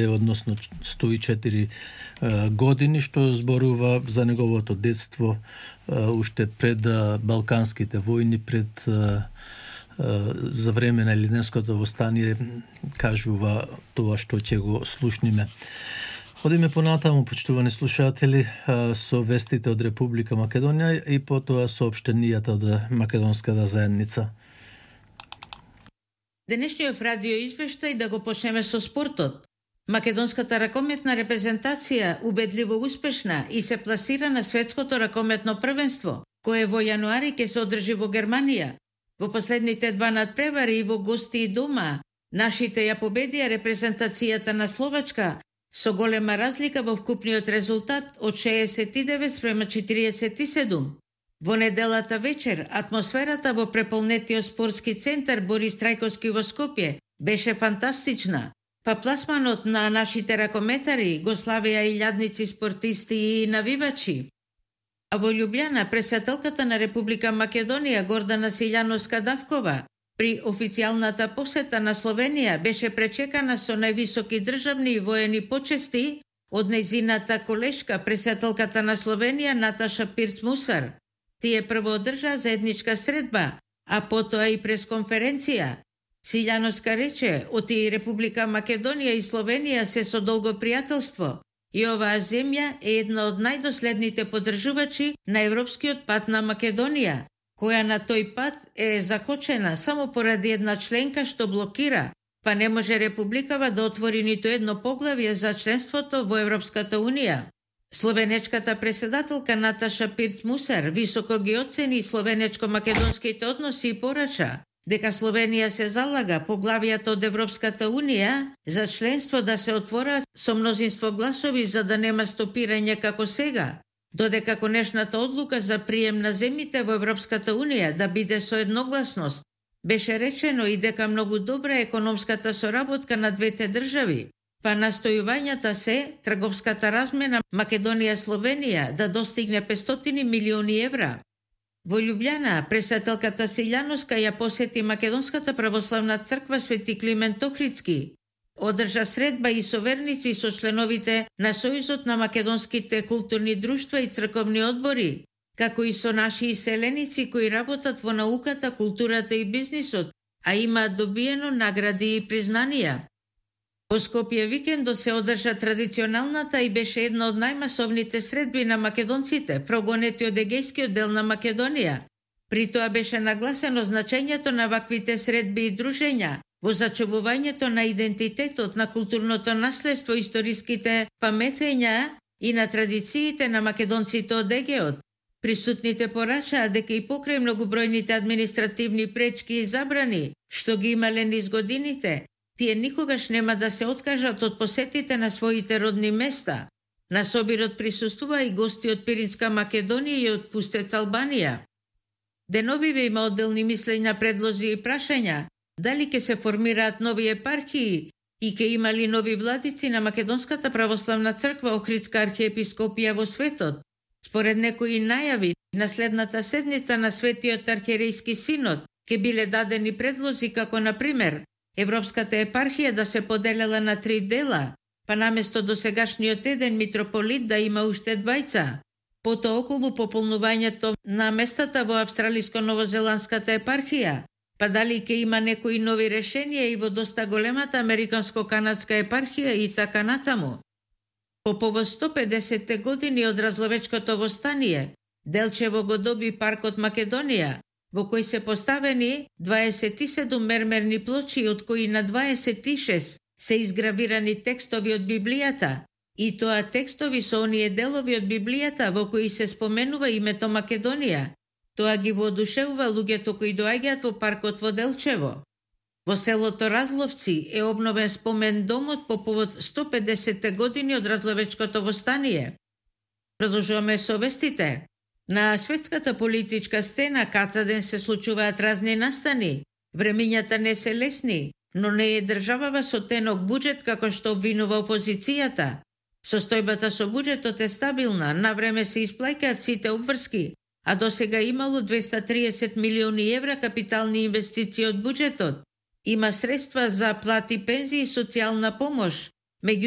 односно 104 години, што зборува за неговото детство уште пред Балканските војни, пред за време на Илинденското востание, кажува тоа што ќе го слушниме. Одиме понатаму, почитувани слушатели, со вестите од Република Македонија и потоа соопштенијата од македонската заедница. Денешниот радио извештај да го почнеме со спортот. Македонската ракометна репрезентација убедливо успешна и се пласира на светското ракометно првенство, кое во јануари ќе се одржи во Германија. Во последните два надпревари и во гости и дома, нашите ја победија репрезентацијата на Словачка со голема разлика во вкупниот резултат од 69-47. Во неделата вечер, атмосферата во преполнетиот спортски центар Борис Трајковски во Скопје беше фантастична. Па пласманот на нашите ракометари го славеа илјадници спортисти и навивачи. А во Љубљана, председателката на Република Македонија Гордана Силјановска-Давкова при официјалната посета на Словенија беше пречекана со највисоки државни и воени почести од нејзината колешка, председателката на Словенија Наташа Пирц-Мусар. Тие прво одржаа заедничка средба, а потоа и пресконференција. Силјановска рече, оти Република Македонија и Словенија се со долго пријателство и оваа земја е една од најдоследните поддржувачи на европскиот пат на Македонија, која на тој пат е закочена само поради една членка што блокира, па не може Републикава да отвори ниту едно поглавје за членството во Европската Унија. Словенечката председателка Наташа Пирц-Мусар високо ги оцени словенечко-македонските односи и порача дека Словенија се залага поглавијата од Европската Унија за членство да се отворат со мнозинство гласови за да нема стопирање како сега, додека конечната одлука за прием на земјите во Европската Унија да биде со едногласност. Беше речено и дека многу добра е економската соработка на двете држави, па настојувањата се трговската размена Македонија-Словенија да достигне 500 милиони евра. Во Љубљана, председателката Силјановска ја посети Македонската православна црква Свети Климент Охридски. Одржа средба и со верници со членовите на Сојузот на македонските културни друштва и црковни одбори, како и со наши иселеници кои работат во науката, културата и бизнисот, а имаат добиено награди и признанија. Во Скопје викендот се одржа традиционалната и беше една од најмасовните средби на македонците, прогонети од егејскиот дел на Македонија. При тоа беше нагласено значењето на ваквите средби и дружења во зачувувањето на идентитетот, на културното наследство, историските паметења и на традициите на македонците од егеот. Присутните порачаа дека и покрај многобројните административни пречки и забрани што ги имале низ годините, тие никогаш нема да се откажат од посетите на своите родни места. На собирот присуствува и гости од Пиринска Македонија и од Пустец Албанија. Деновиве има одделни мислења, предлози и прашања дали ќе се формираат нови епархии и ќе има ли нови владици на Македонската православна црква Охридска архиепископија во светот. Според некои најави, на следната седница на Светиот архиерејски синод ќе биле дадени предлози како, например, Европската епархија да се поделела на 3 дела, па наместо досегашниот еден митрополит да има уште 2. Потоа околу пополнувањето на местата во Австралиско-новозеландската епархија, па дали ќе има некои нови решенија и во доста големата Американско-канадска епархија и така натаму. По повод 150 години од Разловечкото востание, Делчево го доби паркот Македонија, во кој се поставени 27 мермерни плочи, од кои на 26 се изгравирани текстови од Библијата, и тоа текстови со оние делови од Библијата во кои се споменува името Македонија. Тоа ги воодушевува луѓето кои доаѓаат во паркот во Делчево. Во селото Разловци е обновен спомен домот по повод 150 години од Разловечкото востание. Продолжуваме со вестите. На светската политичка сцена катаден се случуваат разни настани. Времињата не се лесни, но не е државава со тенок буџет како што обвинува опозицијата. Состојбата со буџетот е стабилна, на време се исплаќаат сите обврски, а досега имало 230 милиони евра капитални инвестиции од буџетот. Има средства за плати, пензии и социјална помош. Меѓу